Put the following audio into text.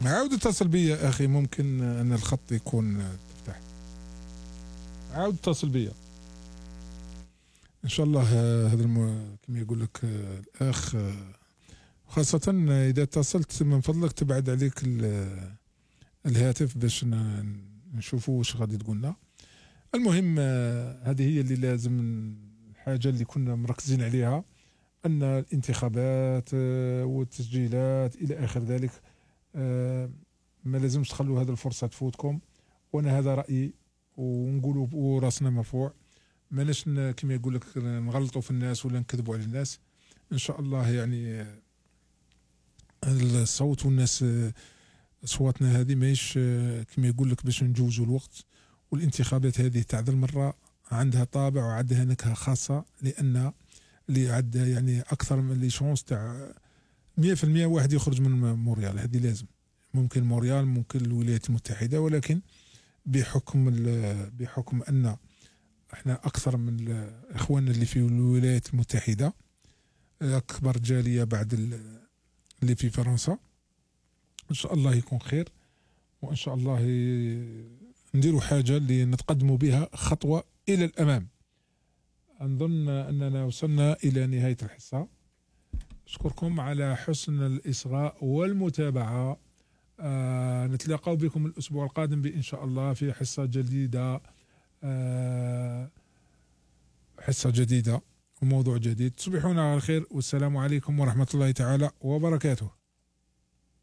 عاود اتصل بيا اخي، ممكن ان الخط يكون تفتح. عاود اتصل بيا ان شاء الله. هذا كما يقول لك الاخ، خاصة اذا اتصلت من فضلك تبعد عليك الهاتف باش نشوفوا واش غادي تقولنا. المهم هذه هي اللي لازم، الحاجة اللي كنا مركزين عليها، ان الانتخابات والتسجيلات الى اخر ذلك ما لازمش تخلوا هذه الفرصة تفوتكم. وانا هذا رأيي، ونقولوا وراسنا مرفوع، ماناش كما يقول لك نغلطوا في الناس ولا نكذبوا على الناس. ان شاء الله يعني الصوت والناس اصواتنا هذه ماهيش كما يقول لك باش نجوزوا الوقت. والانتخابات هذه تاع ذا المرة عندها طابع وعندها نكهة خاصة، لان اللي عندها يعني اكثر من لي شونس تاع 100% واحد يخرج من مونريال. هذه لازم، ممكن مونريال، ممكن الولايات المتحدة، ولكن بحكم ان احنا اكثر من اخواننا اللي في الولايات المتحدة، اكبر جالية بعد اللي في فرنسا. ان شاء الله يكون خير، وان شاء الله نديروا حاجة اللي نتقدموا بها خطوة الى الامام. نظن اننا وصلنا الى نهاية الحصة. اشكركم على حسن الاصغاء والمتابعة. نتلاقى بكم الاسبوع القادم بان شاء الله في حصة جديدة، حصة جديدة وموضوع جديد. تصبحون على خير، والسلام عليكم ورحمة الله تعالى وبركاته.